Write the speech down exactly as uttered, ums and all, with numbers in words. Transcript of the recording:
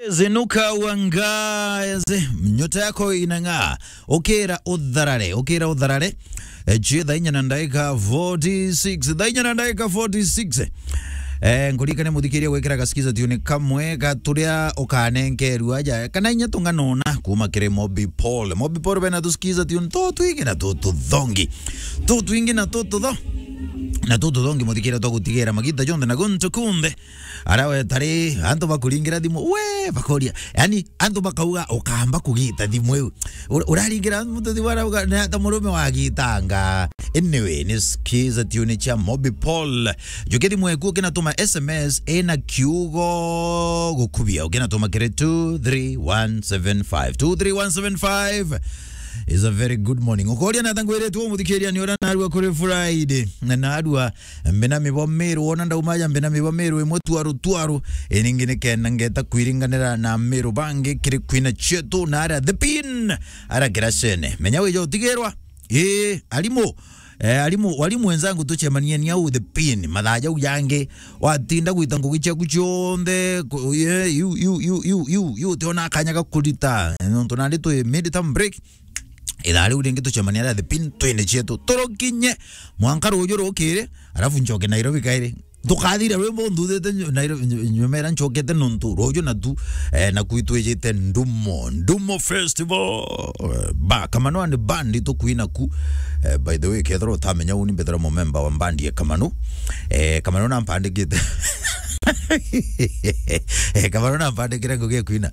Zinuka wangaze, nyota yako inang'aa. Ukira utharare, ukira utharare. Eh, chi thaa inya na ndagika forty-six. Thaa inya na ndagika forty-six. Eh, nkuririkane muthikiria gwikira gasikiza tune kamwe ga turia ukanenkerua aja. Kana inya tunganona kuma kiri Mobi Paul. Mobi Paul bena tusikiza tune to twingi na tu tuthongi. Tu twingi na tu tutho-, na tu tuthongi muthikiria twa gutigira magita jonthe na guntu kunthe. Ara we tari, antu bakuringira thimu, we, bakoria. Yani, antu bakauga, ukamba kugita thimu iu. Ur-, uraringira muntu thimu arauga, "Na ta murume wagitanga." Anyway, ni sikiza tune cia Mobi Paul. Njuke thimu eku ukinatuma S M S ina kiugo gukubia. Ukinatuma kiri two three one seven five. Two three one seven five is a very good morning. Ukoria na tangwire tu muthikiria ni ura narua kuri Friday. Na narua Mbina mibo Meru, wona ndauma aja mbina mibo Meru imwe twaru twaru. Iningi ni kenda ngeta kwiringanira na Meru bangi kiri kwina cietu na aria The Pin, aria kiracene. Menya wija utigirwa. Ii, arimu. Eh, arimu, walimu wenzangu tucemanie ni au The Pin. Mathaa jau jangi, watinda gwita ngugi ciaku cionthe, ku-, ye, yu, yu, utiona kanya ga kurita. Nontu nandi twi mid term break. Ithaa riu ringi tucemania aria The Pin twine cietu. Turukinye mwanka ruju rukiri, arafu ncoke Nairobi kairi. Tukathira rwimbo nthuthite nyu-, Nairobi, nyu-, nyumera ncokete nontu ruju na tu, eh, na kwitwijite Ndumo, Ndumo Festival. Eh, ba, Kamano and Band tukwina ku. Eh, by the way, kethira utamenya uni mbethira mumemba wa band ya Kamano. Eh, Kamano nampandikite. Eh, Kamano nampandikire ngugi ya kwina.